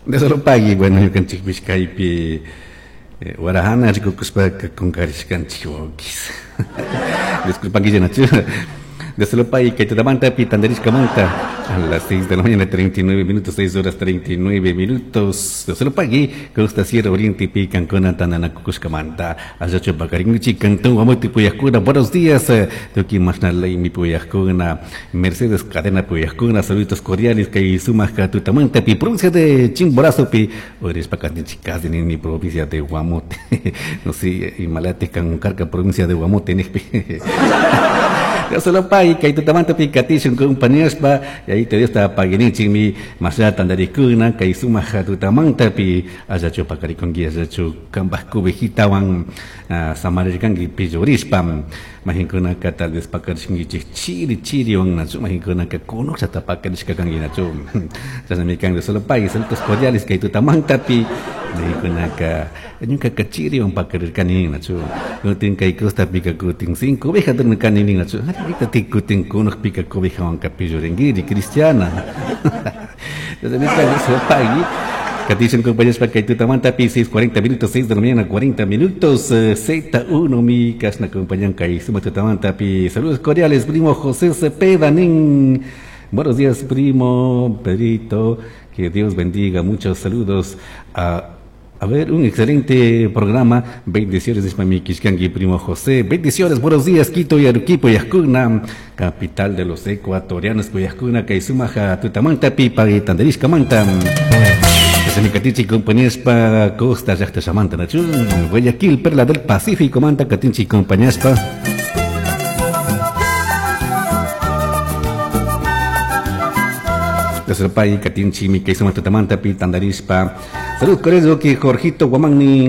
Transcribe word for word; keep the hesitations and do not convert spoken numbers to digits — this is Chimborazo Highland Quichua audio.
De solo pagui, bueno, ñukanchikpish kaypi eh, warahana rikukushpaka kunkarishkanchik wawkis. Disculpankichik nachu. De solo pagui kay tutamantapi tantarishkamanta a las seis de la mañana treinta y nueve minutos, seis horas treinta y nueve minutos. De solo pagui Costa Sierra Oriente pi kankuna tantanakushkamanta allachu pakarinkichik cantón Guamote puyajkuna. Buenos días, tukuy mashnalay puyajkuna, Mercedes Cadena puyajkuna, saludos cordiales kay sumak tutamantapi provincia de Chimborazo pi uyarishpa katinchik nini provincia de Guamote. No sé, imalati kan karka provincia de Guamote nijpi. Dios lo pague, kay tutamantapi katishun compañerspa, y ahí te Dios ta paguinichikmi masha tantarikuna kay sumak tutamantapi allachu pakarikunki, allachu kambaj cobijitawan samarirkanki pillurishpa. Mahinkunaka tal vez pakarishkankichik chiri chiriwan nachu, mahinkunaka kunushata pakarishka kanki nachu. Chashnami kan. Dios lo pague, saludos cordiales kay tutamantapi. Mahinkunaka ñukaka chiriwan pakarirkani nachu, kutin kay costapika kutin sin cobija dormirkani nin nachu. Arita kutin kunukpika cobijawanka pilluringuiri cristiana. Chashnami kan. Dios lo pague. Katishun compañeros para que tutamantapi seis cuarenta minutos, seis de la mañana cuarenta minutos, Z uno mi kasna acompañan kay suma tutamantapi. Saludos cordiales, primo José Cepeda nin. Buenos días, primo Pedrito, que Dios bendiga, muchos saludos a a ver, un excelente programa. Bendiciones, mi kishkanki, primo José. Bendiciones, buenos días, Quito y Arequipa, Yascuna, capital de los ecuatorianos, Yascuna, kay sumak tutamanta, pipa y tantarishkamanta. Katichi compañespa Costa llaqta shamanta nachu, Guayaquil, Perla del Pacífico manta katinchi compañespa. Desde país katinchi mi kay sumak tutamanta pi tantarishpa. Salud cordiales que Jorgito Guamani.